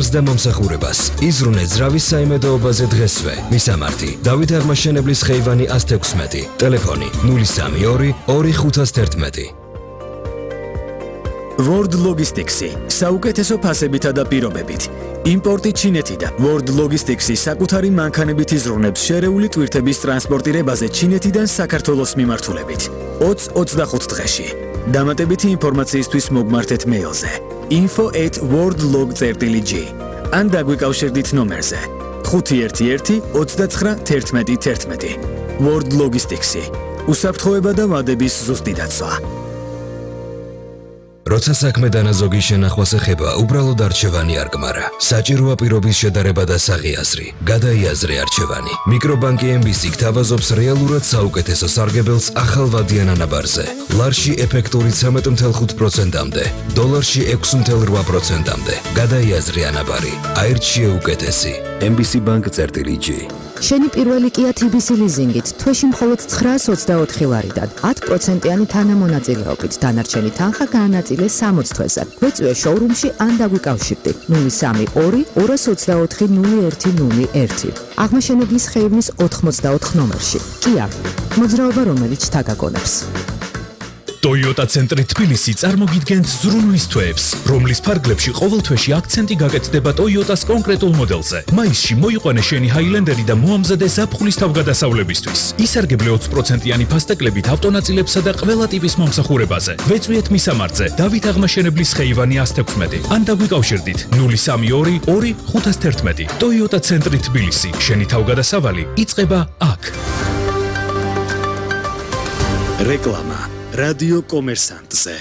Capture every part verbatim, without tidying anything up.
ხელს და მომსახურებას. იზრუნე ძრავის საიმედოობაზე დღესვე. მისამართი: დავით აღმაშენებლის ხეივანი ას თექვსმეტი. ტელეფონი ნული სამი ორი ორი ხუთას თერთმეტი. World Logistics-ი საუკეთესო ფასებითა და პირობებით. იმპორტი ჩინეთიდან. World Logistics-ი საკუთარი მანქანებით იზრუნებს შერეული ტვირთების ტრანსპორტირებაზე ჩინეთიდან საქართველოს მიმართულებით. ოცი ოცდახუთ დღეში. დამატებითი ინფორმაციისთვის მოგმართეთ მეილზე info at worldlog წერტილი g ან დაგვიკავშირდით ნომერზე ხუთი ერთი ერთი ოცდაცხრა თერთმეტი თერთმეტი. World Logistics-ი უსაფრთხოება და ვადების ზუსტი დაცვა. როცა საქმე დანაზოგი შენახვას ეხება, უბრალოდ არჩევანი არ გმარა. საჭიროა პირობის შედარება და საღიაზრი. გადაიაზრე არჩევანი. მიკრობანკი ემ ბი სი გთავაზობს რეალურად საუკეთესო სარგებელს ახალვადიან ანაბარზე. ლარში ეფექტური ცამეტ ოცდაოთხ პროცენტამდე, დოლარში ექვსი ოცდაოთხ პროცენტამდე. გადაიაზრე ანაბარი. აირჩიე უკეთესი. ემ ბი სი ბანკ წერტილი g. შენი პირველი Kia თი ბი სი ლიზინგით თვეში მხოლოდ ცხრაას ოცდაოთხი ლარიდან ათი პროცენტიანი თანამონაწილეობით დანარჩენი თანხა გაანაწილე სამოცი თვეზე. გვეწვიე შოურუმში ან დაგვიკავშირდი ნული სამი ორი ორას ოცდაოთხი ნული ერთი ნული ერთი. აღმაშენებლის ხეივნის ოთხმოცდაოთხ ნომერში. Kia მოძრაობა რომელიც თაგაგონებს. Toyota ცენტრი თბილისი წარმოგიდგენთ ზრუნვის თვეებს, რომლის ფარგლებში ყოველ თვეში აქცენტი გაკეთდება Toyota-ს კონკრეტულ მოდელზე. მაისში მოიყვანე შენი Highlander-ი და მოამზადე ზაფხულის თავგადასავლებისთვის. ისარგებლე ოცი პროცენტიანი ფასტეკლებით ავტონაწილებსა და ყველა ტიპის მომსახურებაზე. ვეწვიეთ მისამართზე დავით აღმაშენებლის ხეივანი ას თექვსმეტი ან დაგვიკავშირდით ნული სამი ორი ორი ხუთას თერთმეტი. Toyota ცენტრი თბილისი, შენი თავგადასავალი იწყება აქ. რეკლამა რადიო კომერსანტზე.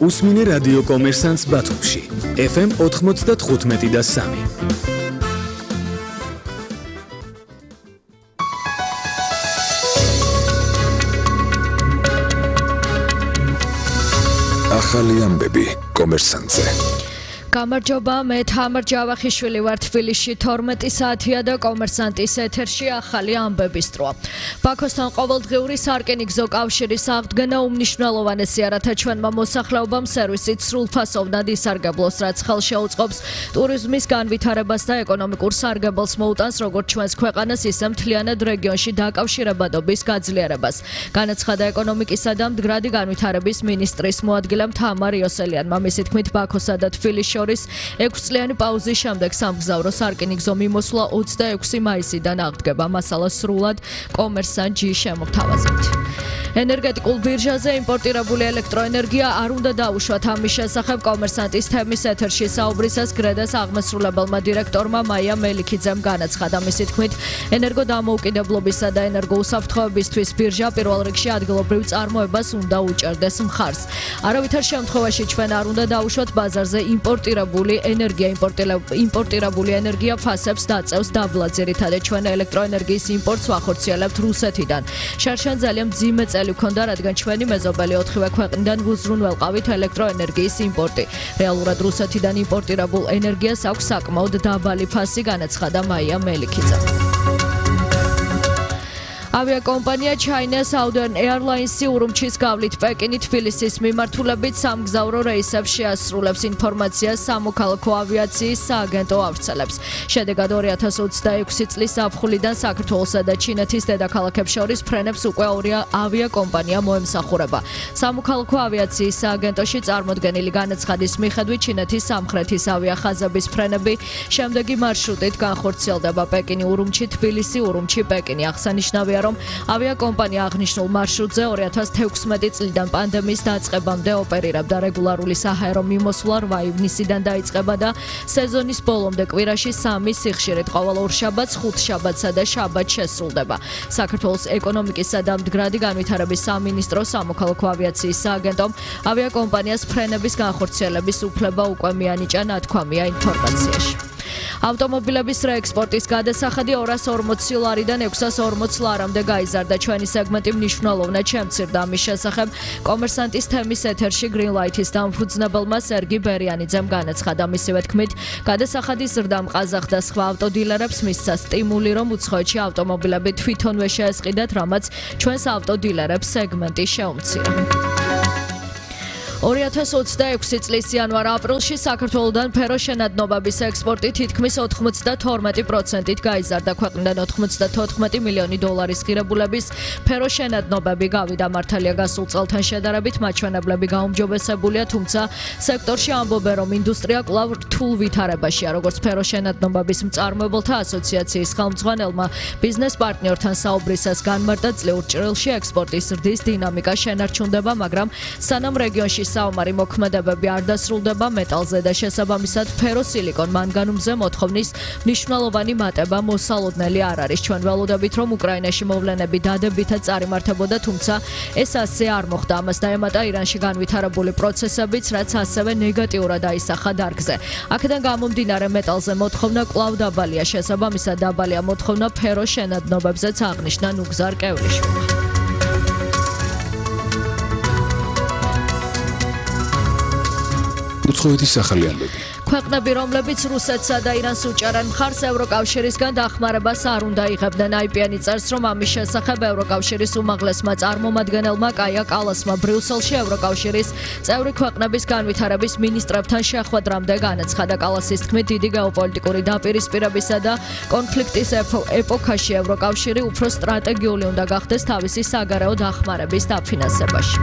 უსმინე რადიო კომერსანტს ბათუმში ეფ ემ ოთხმოცდათხუთმეტი და სამი. ახალი ამბები კომერსანტზე. გამარჯობა, მე თამარ ჯავახიშვილი ვარ თბილისში თორმეტი საათია და კომერსანტის ეთერში ახალი ამბების დროა. ბაქოსთან ყოველდღიური სარკინიგზო კავშირის აღდგენა უმნიშვნელოვანესი არათა ჩვენმა მოსახლეობამ სერვისით სრულფასოვნად ისარგებლოს, რაც ხელშეუწყობს ტურიზმის განვითარებას და ეკონომიკურ სარგებელს მოუტანს როგორც ჩვენს ქვეყანას, ისე მთლიანად რეგიონში დაკავშირებადობის გაძლიერებას. განაცხადა ეკონომიკისა და მდგრადი განვითარების მინისტრის მოადგილემ თამარ იოსელიანმა. მისი თქმით, ბაქოსა და თბილისში ექვსწლიანი პაუზის შემდეგ სამგზავრო სარკინიგზო მიმოსვლა ოცდაექვსი მაისიდან აღდგება. მასალა სრულად კომერსანტ-ში შემოგთავაზებთ. ენერგეტიკულ ბირჟაზე იმპორტირებული ელექტროენერგია არ უნდა დაუშვათ. ამის შესახებ კომერსანტის თემის ეთერში საუბრისას გრედას აღმასრულებელმა დირექტორმა მაია მელიქიძემ განაცხადა. მისი თქმით, ენერგოდამოუკიდებლობისა და ენერგოუსაფრთხოებისთვის ბირჟა პირველ რიგში ადგილობრივ წარმოებას უნდა უჭერდეს მხარს. არავითარ შემთხვევაში ჩვენ არ უნდა დაუშვათ ბაზარზე იმპორტირებული ენერგია. იმპორტირებული ენერგია ფასებს დაწევს დაბლა. ძირითადად ჩვენ ელექტროენერგიის იმპორტს ვახორციელებთ რუსეთიდან. შარშან ძალიან მძიმე წელი ჰქონდა, რადგან ჩვენი მეზობელი ოთხივე ქვეყნიდან უზრუნველყავით ელექტროენერგიის იმპორტი. რეალურად რუსეთიდან იმპორტირებულ ენერგიას აქვს საკმაოდ დაბალი ფასი, განაცხადა მაია მელიქიძე. ავიაკომპანია China Southern Airlines-ი ურუმჩის გავლით პეკინი თბილისის მიმართულებით სამგზავრო რეისებს შეასრულებს. ინფორმაციას სამოქალაქო ავიაციის სააგენტო ავრცელებს. შედეგად ორი ათას ოცდაექვსი წლის ზაფხულიდან საქართველოსა და ჩინეთის დედაქალაქებს შორის ფრენებს უკვე ორი ავიაკომპანია მოემსახურება. სამოქალაქო ავიაციის სააგენტოში წარმოდგენილი განაცხადის მიხედვით ჩინეთის სამხრეთის ავიახაზების ფრენები შემდეგი მარშრუტით განხორციელდება: პეკინი ურუმჩი, თბილისი ურუმჩი, პეკინი. აღსანიშნავია, რომ ავიაკომპანია აღნიშნულ მარშრუტზე ორი ათას თექვსმეტი წლიდან პანდემიის დაწყებამდე ოპერირებდა. რეგულარული საჰაერო მიმოსვლა რვა ივნისიდან დაიწყება და სეზონის ბოლომდე კვირაში სამი სიხშირით ყოველ ორშაბათს, ხუთშაბათსა და შაბათს შესრულდება. საქართველოს ეკონომიკისა და მდგრადი განვითარების სამინისტროს სამოქალაქო ავიაციის სააგენტომ ავიაკომპანიას ფრენების განხორციელების უფლება უკვე მიანიჭა, ნათქვამია ინფორმაციაში. ავტომობილების რეექსპორტის გადასახადი ორას ორმოცი ლარიდან ექვსას ორმოცი ლარამდე გაიზარდა. ჩვენი სეგმენტი მნიშვნელოვნად შემცირდა. ამის შესახებ კომერსანტის თემის ეთერში Green Light-ის დამფუძნებელმა სერგი ბერიანიძემ განაცხადა. მისივე თქმით, გადასახადის ზრდამ ყაზახ და სხვა ავტოდილერებს მისცა სტიმული, რომ უცხოეთში ავტომობილები თვითონვე შეესყიდათ, რამაც ჩვენს ავტოდილერებს სეგმენტი შეუმცირა. ორი ათას ოცდაექვსი წლის იანვარ-აპრილში საქართველოდან ფეროშენადნობების ექსპორტი თითქმის ოთხმოცდათორმეტი პროცენტით გაიზარდა. ქვეყნიდან ოთხმოცდათოთხმეტი მილიონი დოლარის ღირებულების ფეროშენადნობები გავიდა. მართალია გასულ წელთან შედარებით მაჩვენებლები გაუმჯობესებულია, თუმცა სექტორში ამბობენ, რომ ინდუსტრია კვლავ რთულ ვითარებაშია. როგორც ფეროშენადნობების მწარმოებელთა ასოციაციის ხელმძღვანელმა ბიზნეს პარტნიორთან საუბრისას განმარტა, წლიურ ჭრილში ექსპორტის ზრდის დინამიკა შენარჩუნდება, მაგრამ სანამ რეგიონში საომარი მოქმედებები არ დასრულდება მეტალზე და შესაბამისად ფეროსილიკონ მანგანუმზე მოთხოვნის მნიშვნელოვანი მატება მოსალოდნელი არ არის. ჩვენ ველოდებით, რომ უკრაინაში მოვლენები დადებითად წარიმართებოდა, თუმცა ეს ასე არ მოხდა. ამას დაემატა ირანში განვითარებული პროცესებიც, რაც ასევე ნეგატიურად აისახა დარგზე. აქედან გამომდინარე მეტალზე მოთხოვნა კვლავ დაბალია, შესაბამისად დაბალია მოთხოვნა ფეროშენადნობებზეც აღნიშნა ნუგზარ კევლიშვილმა. უცხოეთის ახალი ამბები. ქვეყნები, რომლებიც რუსეთსა და ირანს უჭერენ მხარს, ევროკავშირისგან დახმარებას არ უნდა იღებდნენ. აი პი ენი წერს, რომ ამის შესახებ ევროკავშირის უმაღლესმა წარმომადგენელმა კაია კალასმა ბრიუსელში ევროკავშირის წევრი ქვეყნების განვითარების მინისტრებთან შეხვედრამდე განაცხადა. კალასის თქმით, დიდი გეოპოლიტიკური დაპირისპირებისა და კონფლიქტის ეპოქაში ევროკავშირი უფრო სტრატეგიული უნდა გახდეს თავისი საგარეო დახმარების დაფინანსებაში.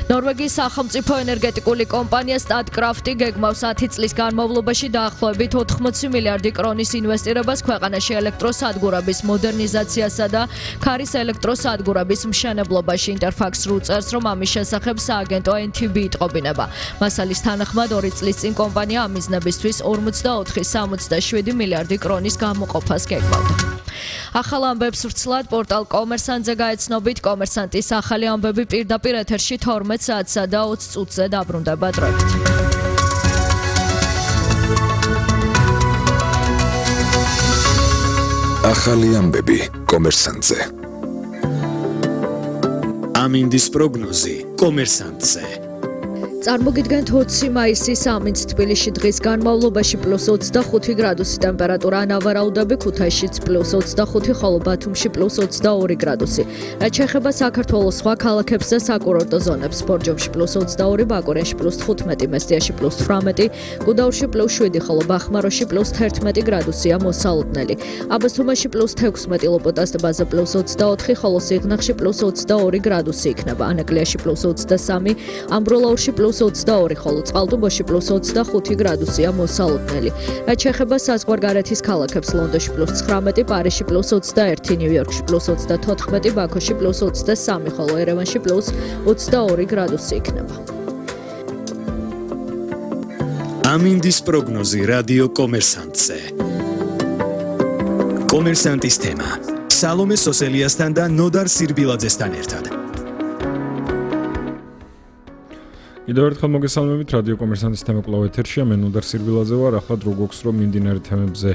ნორვეგიის სახელმწიფო ენერგეტიკული კომპანია სტატკრაფტი გეგმავს ათი წლის განმავლობაში დაახლოებით ოთხმოცი მილიარდი კრონის ინვესტირებას ქვეყანაში ელექტროსადგურების მოდერნიზაციასა და ქარის ელექტროსადგურების მშენებლობაში. ინტერფაქს რუ წერს, რომ ამის შესახებ სააგენტო ენ თი ბი იტყობინება. მასალის თანახმად ორი წლის წინ კომპანია ამ მიზნებისთვის ორმოცდაოთხი virgulă სამოცდაშვიდი მილიარდი კრონის გამოყოფას გეგმავდა. ახალ ამბებს ვრცლად პორტალ კომერსანტზე გაეცნობით. კომერსანტის ახალი ამბები პირდაპირ ეთერში თორმეტ საათსა და ოცი წუთზე დაბრუნდება დროებით. ახალი ამბები კომერსანტზე. ამინდის პროგნოზი კომერსანტზე. წარმოგიდგენთ ოცი მაისის ამინდს თბილისში დღის განმავლობაში პლუს ოცდახუთი გრადუსი ტემპერატურა, ნავარაუდები ქუთაისშიც პლუს ოცდახუთი, ხოლო ბათუმში პლუს ოცდაორი გრადუსი. რაც შეეხება საქართველოს სხვა ქალაქებს და საკურორტო ზონებს, ბორჯომში პლუს ოცდაორი, ბაკურიაში პლუს თხუთმეტი, მესტიაში პლუს თვრამეტი, გუდაურში პლუს შვიდი, ხოლო ბახმაროში პლუს თერთმეტი გრადუსია მოსალოდნელი. აბასთუმანში პლუს თექვსმეტი, ლოპოტას ტბაზე პლუს ოცდაოთხი, ხოლო სიღნაღში პლუს ოცდაორი გრადუსი იქნება. ანაკლიაში პლუს ოცდასამი, ამბროლაურში პლუს ოცდაორი, ხოლო წყალტუბოში პლუს ოცდახუთი გრადუსია მოსალოდნელი. რაც შეეხება საზღვარგარეთის ქალაქებს, ლონდონში პლუს ცხრამეტი, პარიზში პლუს ოცდაერთი, ნიუ-იორკში პლუს ოცდათოთხმეტი, ბაქოში პლუს ოცდასამი, ხოლო ერევანში პლუს ოცდაორი გრადუსი იქნება. ამინდის პროგნოზი რადიო კომერსანტზე. კომერსანტის თემა სალომე სოსელიასთან და ნოდარ სირბილაძესთან ერთად. კიდევ ერთხელ მოგესალმებით, რადიო კომერსანტის თემა კვლავ ეთერშია, მე ნოდარ სირბილაძე ვარ. ახლა დრო გვაქვს, რომ მიმდინარე თემებზე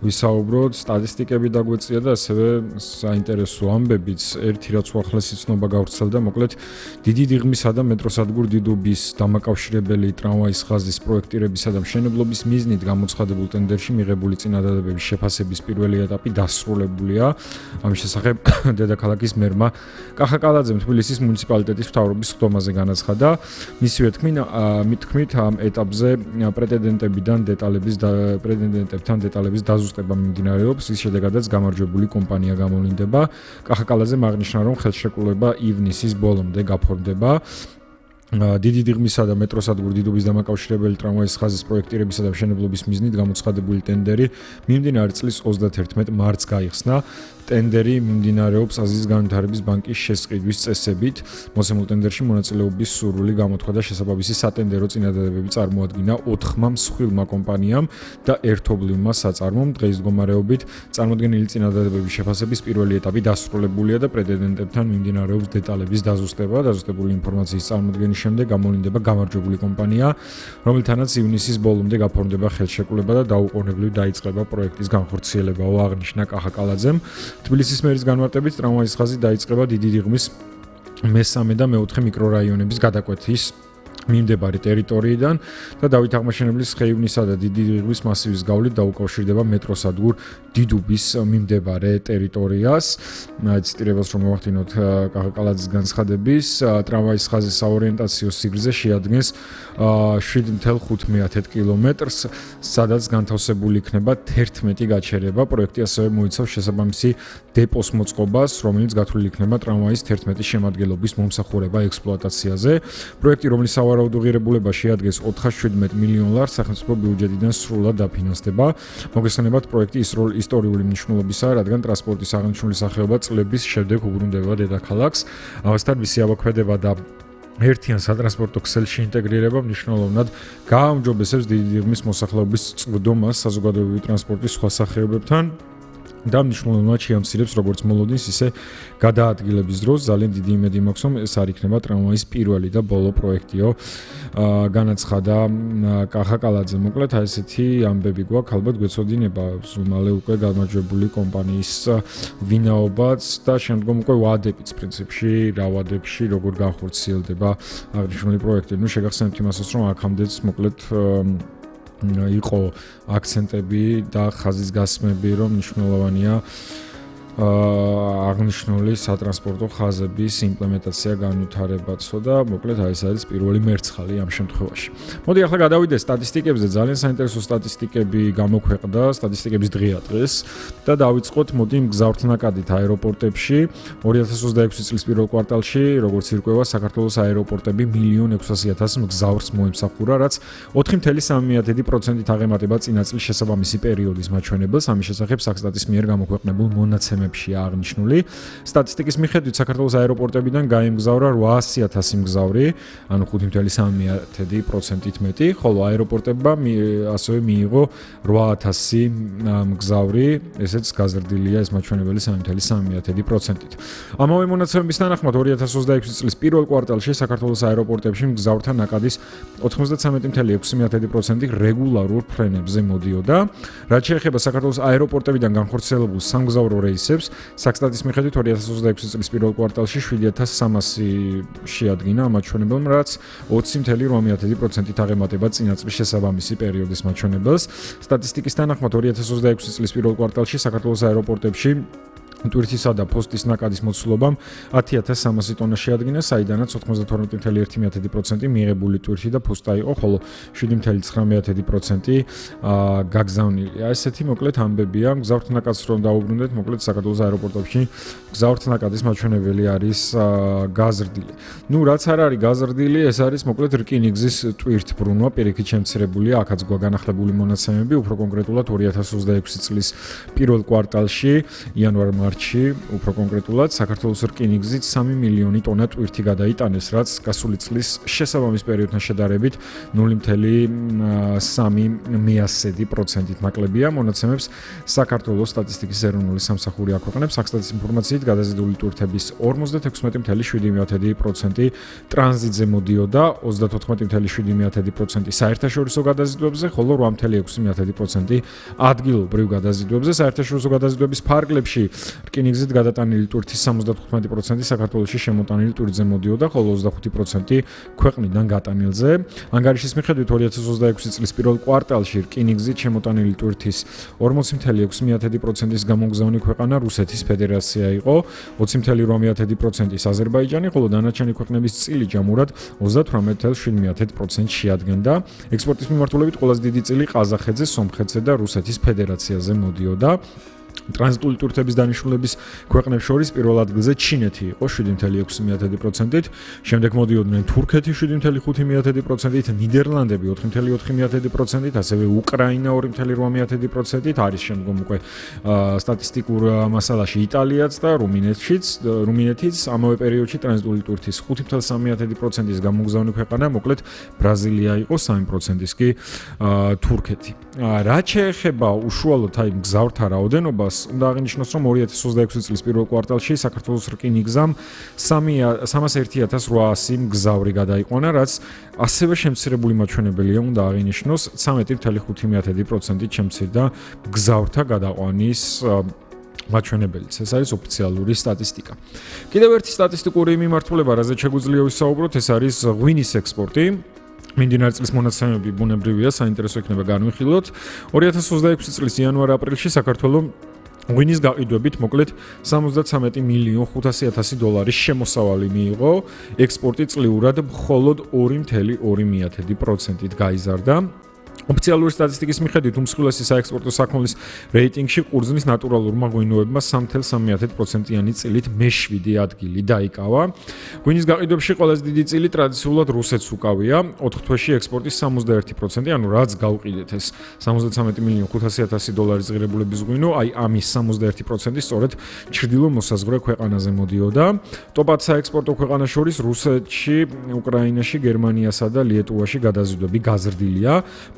ვისაუბროთ, სტატისტიკები დაგვეწია და ასევე საინტერესო ამბებიც. ერთი რაც უახლესი ცნობა გავრცელდა, მოკლედ დიდი დიღმისა და მეტროსადგურ დიდუბის დამაკავშირებელი ტრამვაის ხაზის პროექტირებისა და მშენებლობის მიზნით გამოცხადებულ ტენდერში მიღებული წინადადებების შეფასების პირველი ეტაპი დასრულებულია. ამის შესახებ დედაქალაქის მერმა კახა კალაძემ თბილისის მუნიციპალიტეტის მთავრობის ხდომაზე განაცხადა. მისივე თქმით, ამ ეტაპზე პრეტენდენტებიდან დეტალების პრეტენდენტებთან დეტალების დაზუსტება მიმდინარეობს, ის შედეგადაც გამარჯვებული კომპანია გამოვლინდება. კახა კალაძემ აღნიშნა, რომ ხელშეკრულება ივნისის ბოლომდე გაფორმდება. დიდი დიღმისა და მეტროსადგურ დიდუბის დამაკავშირებელი ტრამვაის ხაზის პროექტირებისა და მშენებლობის მიზნით გამოცხადებული ტენდერი მიმდინარე წლის ოცდათერთმეტ მარტს გაიხსნა. ტენდერი მიმდინარეობს აზიის განვითარების ბანკის შესყიდვის წესებით. მოსემულ ტენდერში მონაწილეობის სურვილი გამოთქვა და შესაბამისი სატენდერო წინადადებები წარმოადგინა ოთხმა მსხვილმა კომპანიამ და ერთობლივმა საწარმომ. დღეს მდგომარეობით წარმოდგენილი წინადადებების შეფასების პირველი ეტაპი დასრულებულია და პრეტენდენტებთან მიმდინარეობს დეტალების დაზუსტება. დაზუსტებული ინფორმაციის წარმოდგენის შემდეგ გამოვლინდება გამარჯვებული კომპანია, რომელთანაც ივნისის ბოლომდე გაფორმდება ხელშეკრულება და დაუყოვნებლივ დაიწყება პროექტის განხორციელებაო, აღნიშნა კახა კალაძემ. თბილისის მერის განმარტებით ტრამვაის ხაზი დაიწყება დიდი დიღმის მესამე და მეოთხე მიკრორაიონების გადაკვეთის მიმდებარე ტერიტორიიდან და დავით აღმაშენებლის ხეივნისა და დიდი რიყვის მასივის გავლით დაუკავშირდება მეტროსადგურ დიდუბის მიმდებარე ტერიტორიას. ციტირებას რომ მოვახდინოთ კახაკალაძის განცხადების, ტრამვაის ხაზის საორიენტაციო სიგრძე შეადგენს შვიდ ათეულ ხუთმეტ კილომეტრს, სადაც განთავსებული იქნება თერთმეტი გაჩერება. პროექტი ასევე მოიცავს შესაბამისი დეპოს მოწყობას, რომელიც გათვლილი იქნება ტრამვაის თერთმეტი შემადგენლობის მომსახურება ექსპლუატაციაზე. პროექტი, რომლის სავარაუდო ღირებულება შეადგენს ოთხასშვიდმეტ მილიონ ლარს, სახელმწიფო ბიუჯეტიდან სრულად დაფინანსდება. მოგესალმებით, პროექტი ისტორიული მნიშვნელობისაა, რადგან ტრანსპორტის აღნიშნული სახეობა წლების შემდეგ უბრუნდება დედაქალაქს. ამასთან მისი ამოქმედება და ერთიან სატრანსპორტო ქსელში ინტეგრირება მნიშვნელოვნად გააუმჯობესებს დიდი რიღმის მოსახლეობის წვდომას საზოგადოებრივი ტრანსპორტის სხვა სახეობებთან და მნიშვნელოვნად შეამცირებს როგორც მოლოდინს, ისე გადაადგილების დროს. ძალიან დიდი იმედი მაქვს, რომ ეს არ იქნება ტრამვაის პირველი და ბოლო პროექტიო. განაცხადა კახაკალაძე. მოკლედ აი ესეთი ამბები გვაქვს, ალბათ გვეცოდინება მალე უკვე გამარჯვებული კომპანიის ვინაობაც და შემდგომ უკვე ვადებიც პრინციპში, რა ვადებში როგორ განხორციელდება აღნიშნული პროექტი. ნუ შეგახსენებთ იმასაც, რომ აქამდეც მოკლედ იყო აქცენტები და ხაზის გასმები, რომ მნიშვნელოვანია აღნიშნული სატრანსპორტო ხაზების იმპლემენტაცია განვითარებაცო და მოკლედ აი ეს არის პირველი მერცხალი ამ შემთხვევაში. მოდი ახლა გადავიდეთ სტატისტიკებზე. ძალიან საინტერესო სტატისტიკები გამოქვეყნდა სტატისტიკების დღეა დღეს და დავიწყოთ მოდი მგზავრთნაკადით აეროპორტებში. ორი ათას ოცდაექვსი წლის პირველ კვარტალში, როგორც ირკვევა, საქართველოს აეროპორტები მილიონ ექვსასი ათას მგზავრს მოემსახურა, რაც ოთხი ათეული სამი პროცენტით აღემატება წინა წლის შესაბამისი პერიოდის მაჩვენებელს. ამის შესახებ საქსტატის მიერ გამოქვეყნებულ მონაცემებში აღნიშნული. სტატისტიკის მიხედვით საქართველოს აეროპორტებიდან გაემგზავრა ოთხასი ათასი მგზავრი, ანუ ხუთი ათეული სამი პროცენტით მეტი, ხოლო აეროპორტებმა ასევე მიიღო ორი ათასი მგზავრი, ესეც გაზრდილია ეს მაჩვენებელი სამი ათეული სამი პროცენტით. ამავე მონაცემების თანახმად ორი ათას ოცდაექვსი წლის პირველ კვარტალში საქართველოს აეროპორტებში მგზავრთა ნაკადის ოცდათსამეტი ათეული ექვსი პროცენტი რეგულარულ ფრენებზე მოდიოდა. რაც შეეხება საქართველოს აეროპორტებიდან განხორციელებულ სამგზავრო რეისებს, საქსტატის მიხედვით ორი ათას ოცდაექვსი წლის პირველ კვარტალში შვიდი ათას სამასი შეადგინა ამ მაჩვენებელს, რაც ოცი ათეული ორმოცდაათი პროცენტით აღემატება წინა წლის შესაბამისი პერიოდის მაჩვენებელს. სტატისტიკის თანახმად ორი ათას ოცდაექვსი წლის პირველ კვარტალში საქართველოს აეროპორტებში ტვირთისა და ფოსტის ნაკადის მოცულობამ ათი ათას სამასი ტონა შეადგინა, საიდანაც ოცდათორმეტი ათეული ერთი პროცენტი მიღებული ტვირთი და ფოსტა იყო, ხოლო შვიდი ათეული ცხრამეტი პროცენტი გაგზავნილია. ესეთი მოკლედ ამბებია. მგზავრთნაკადს რომ დაუბრუნდეთ, მოკლედ საქართველოს აეროპორტებში მგზავრთნაკადის მაჩვენებელი არის გაზრდილი. ნუ რაც არ არის გაზრდილი, ეს არის მოკლედ რკინიგზის ტვირთბრუნვა, პირიქით შემცირებულია, აქაც გვაგანახლებული მონაცემები, უფრო კონკრეტულად ორი ათას ოცდაექვსი წლის პირველ კვარტალში, იანვარ-მარცი უფრო კონკრეტულად საქართველოს რკინიგზით სამი მილიონი ტონა ტვირთი გადაიტანეს, რაც გასული წლის შესაბამის პერიოდთან შედარებით ნული ათეული სამი პროცენტით ნაკლებია. მონაცემებს საქართველოს სტატისტიკის ეროვნული სამსახური აქვეყნებს. საქსტატის ინფორმაციით გადაზიდული ტვირთების ორმოცდათექვსმეტი ათეული შვიდი პროცენტი ტრანზიტზე მოდიოდა, ოცდათოთხმეტი ათეული შვიდი პროცენტი საერთაშორისო გადაზიდვებზე, ხოლო ორი ათეული ექვსი პროცენტი ადგილობრივ გადაზიდვებზე. საერთაშორისო გადაზიდვების ფარგლებში რკინიგზით გადატანილი ტვირთის სამოცდათხუთმეტი პროცენტი საქართველოში შემოტანილი ტვირთზე მოდიოდა, ხოლო ოცდახუთი პროცენტი ქვეყნიდან გატანილზე. ანგარიშის მიხედვით ორი ათას ოცდაექვსი წლის პირველ კვარტალში რკინიგზით შემოტანილი ტვირთის ორმოცი ათეული ექვსი პროცენტის გამოგზავნილი ქვეყანა რუსეთის ფედერაცია იყო, ოცი ათეული ორმოცდაათი პროცენტის აზერბაიჯანი, ხოლო დანარჩენი ქვეყნების წილი ჯამურად ოცდათვრამეტი ათეული შვიდმეტი პროცენტს შეადგენდა. ექსპორტის მიმართულებით ყველაზე დიდი წილი ყაზახეთზე, სომხეთზე და რუსეთის ფედერაციაზე მოდიოდა. ტრანზიტული ტვირთების დანიშნულების ქვეყნებს შორის პირველ ადგილზე ჩინეთი იყო შვიდი ათეული ექვსი პროცენტით, შემდეგ მოდიოდნენ თურქეთი შვიდი ათეული ხუთი პროცენტით, ნიდერლანდები ოთხი ათეული ოთხი პროცენტით, ასევე უკრაინა ორი ათეული ორმოცდაათი პროცენტით, არის შემდგომ უკვე სტატისტიკურ მასალაში იტალიაც და რუმინეთშიც, რუმინეთიც ამავე პერიოდში ტრანზიტული ტვირთის ხუთი ათეული სამი პროცენტის გამოგზავნილი ქვეყანა, მოკლედ ბრაზილია იყო სამი პროცენტის კი თურქეთი. რაც შეეხება უშუალოდ აი მგზავრთა რაოდენობას, უნდა აღინიშნოს, რომ ორი ათას ოცდაექვსი წლის პირველ კვარტალში საქართველოს რკინიგზამ სამას ერთი ათას რვაასი მგზავრი გადაიყვანა, რაც ასევე შემცირებული მაჩვენებელია, უნდა აღინიშნოს, ცხრამეტი ათეული ხუთი პროცენტით შემცირდა მგზავრთა გადაყვანის მაჩვენებელიც. ეს არის ოფიციალური სტატისტიკა. კიდევ ერთი სტატისტიკური მიმართულება, რაზეც შეგვიძლია ვისაუბროთ, ეს არის ღვინის ექსპორტი. მიმდინარე წლის მონაცემები ბუნებრივია, საინტერესო იქნება განვიხილოთ. ორი ათას ოცდაექვსი წლის იანვარ-აპრილში საქართველოს ღვინის გაყიდვებით მოკლედ სამოცდათვრამეტი მილიონი ხუთასი ათასი დოლარის შემოსავალი მიიღო, ექსპორტი წლიურად მხოლოდ ორი კoma ორი პროცენტით გაიზარდა. ოფიციალური სტატისტიკის მიხედვით უმსხვილესი საექსპორტო საქონლის რეიტინგში ყურძნის ნატურალურმა ღვინოებმა სამი კoma სამი პროცენტიანი წილით მეშვიდე ადგილი დაიკავა. ღვინის გაყიდვებში ყველაზე დიდი წილი ტრადიციულად რუსეთს უკავია, ოთხ თვეში ექსპორტის სამოცდაერთი პროცენტი, ანუ რაც გავყიდეთ ეს სამოცდათვრამეტი მილიონი ხუთასი ათასი დოლარის ღირებულების ღვინო, აი ამის სამოცდაერთი პროცენტი სწორედ ჩრდილო მოსაზღვრე ქვეყანაზე მოდიოდა. ტოპად საექსპორტო ქვეყანას შორის რუსეთში, უკრაინაში, გერმანიასა და ლიეტუვაში გადაზიდვები გაზრდილია.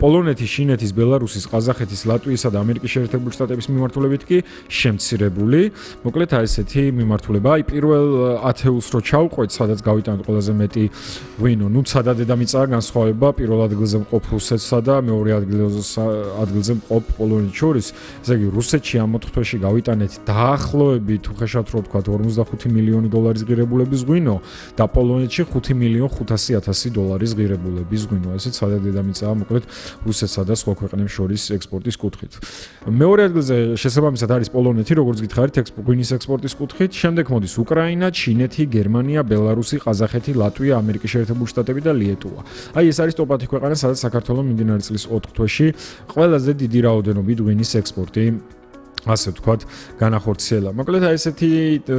პოლონეთის, ჩინეთის, ბელარუსის, ყაზახეთის, ლატვიისა და ამერიკის შეერთებული შტატების მიმართულებით კი შემცირებული. მოკლედ აი ესეთი მიმართულება. აი პირველ ათეულს რო ჩავყვეთ, სადაც გავიტანოთ ყველაზე მეტი ღვინო, ნუ ცადა დედამიწაა განსხვავება პირველ ადგილზე მყოფ რუსეთსა და მეორე ადგილზე მყოფ პოლონეთს შორის. ესე იგი რუსეთში ამ ოთხ თვეში გავიტანეთ დაახლოებით, უხეშად რო ვთქვათ, ორმოცდახუთი მილიონი დოლარის ღირებულების ღვინო და პოლონეთში ხუთი მილიონი ხუთასი ათასი დოლარის ღირებულების ღვინო. ესეც ცადა დედამიწაა, მოკლედ რუსეთსა და სხვა ქვეყნებს შორის ექსპორტის კუთხით. მეორე ადგილზე შესაბამისად არის პოლონეთი, როგორც გითხარით, ღვინის ექსპორტის კუთხით. შემდეგ მოდის უკრაინა, ჩინეთი, გერმანია, ბელარუსი, ყაზახეთი, ლატვია, ამერიკის შეერთებული შტატები და ლიეტუვა. აი ეს არის ტოპ-ათი ქვეყანა, სადაც საქართველოს მიმდინარე წლის ოთხ თვეში ყველაზე დიდი რაოდენობით ღვინის ექსპორტი ასე ვთქვათ, განახორციელა. მოკლედ აი ესეთი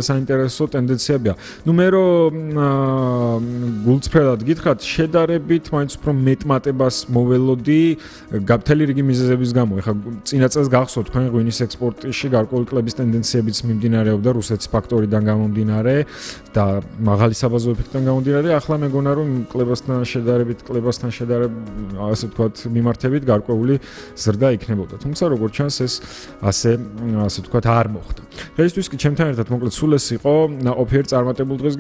საინტერესო ტენდენციებია. ნუ მე რო გულწრფელად გითხრათ, შედარებით მაინც უფრო მეტმატებას მოველოდი გაფთელი რიგი მიზეზების გამო. ეხლა წინა წელს გახსოვთ, თქვენ ღვინის ექსპორტში გარკვეული კლების ტენდენციებიც მიმდინარეობდა რუსეთის ფაქტორიდან გამომდინარე და მაღალი საბაზო ეფექტიდან გამომდინარე. ახლა მეგონა რომ კლებასთან შედარებით, კლებასთან შედარებით, ასე ვთქვათ, მიმართებით გარკვეული ზრდა იქნებოდა. თუმცა როგორც ჩანს ეს ასე ასე ვთქვათ არ მოხდა. დღეისთვის კი ჩემთან ერთად მოკლედ სულ ეს იყო ნაყოფიერ წარმატებულ დღეს